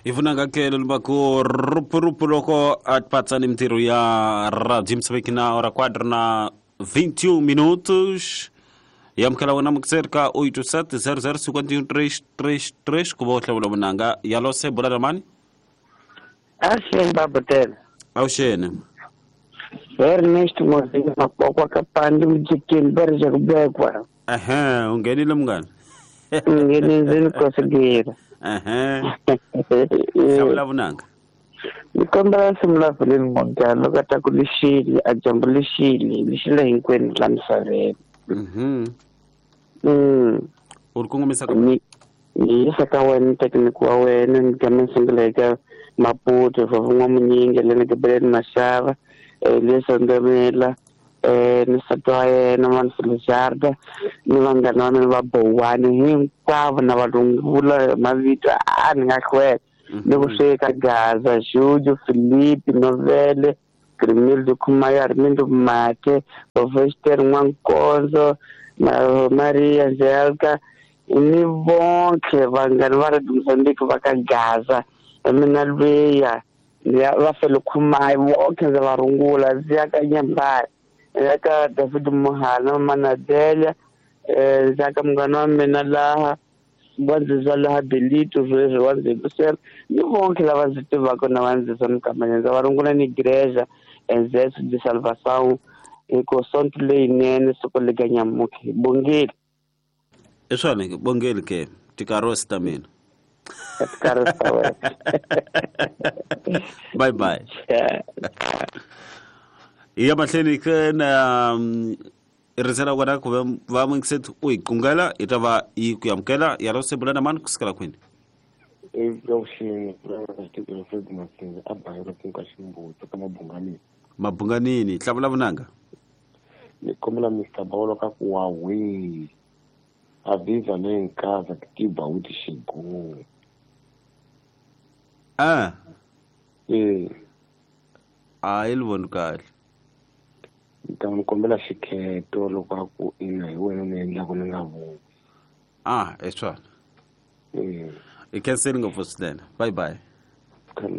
Hi vunanga ke lombaku rupurupu loko atipatsa ni mintirho ya radio Moçambique na hora 4 na 21 minutos. Hi amukela wena mukiseri ka 87 00 51 333 ku va u hlawula vunanga yalose bula na mani. Avuxeni Babutela. Avuxeni. Ernest Mozini Mapokwa ka Pandi Mujikini Berja kubekwa. Ehe, u nghenile munghana. Nghenile kosigila. Ehe. Hlawula vunanga. Ni kombela nsimu la Veleni Monga loko a ta ku lixile a dyambu lixile lixile hinkwenu la misaveni. U ri kongomisa ka Ni yisa ka wena thekiniki wa wena ni gama ni sungula eka Maputo Vavun'wa Munyingi leni Gibeleni Mashava Elias Ndemela ni nsati wa yena Manfilijarda ni vanghana va mina va Bowani hinkwavo na valungula hi mavito a ni nga hlwela ni ku sweka Gaza Juju Filipi Novele Grimildo Khumaya Armindo Mate Bovester N'wankonzo na Maria Angelka ni bonke vanghana va Radio Mozambique va ka Gaza mina lweya va fele Khumaya bonke ndza va rungula ndzi ya ka Nyambari ndzi ya ka David Muhana Manadelia ndzi ya ka munghana wa mina laha wa laha Belito sweswi wa ndzi ni vonke lava ndzi tivaka na va ndzi mikamanya ndza va rungula ni igreja Exército de Salvação hi sonto leyinene siku lika nyamuki bongile. I swona bongeli ke tikarosi ta mina. Tikarosi ta wena. Bye bye. Hi ya mahlweni ke na rindzela wena ku va muyingiseti u hi qungela hi ta va yi ku amukela ya ro sebula na mani ku sukela kwini. Avuxeni Fred Masinga a bayela ku ka ximbuti ka Mabunganini. Mabunganini hlamula vunanga. Ni kombela Mr Bawolo ka ku wa we avisa nem casa que te baúde chegou. Ah. A yi voni kahle. Ni ta n'wi kombela xikheto loko a ku ina hi wena ni endlaku ni nga voni. Ah, i swona. I khenseli ngopfu swinene. Bye bye.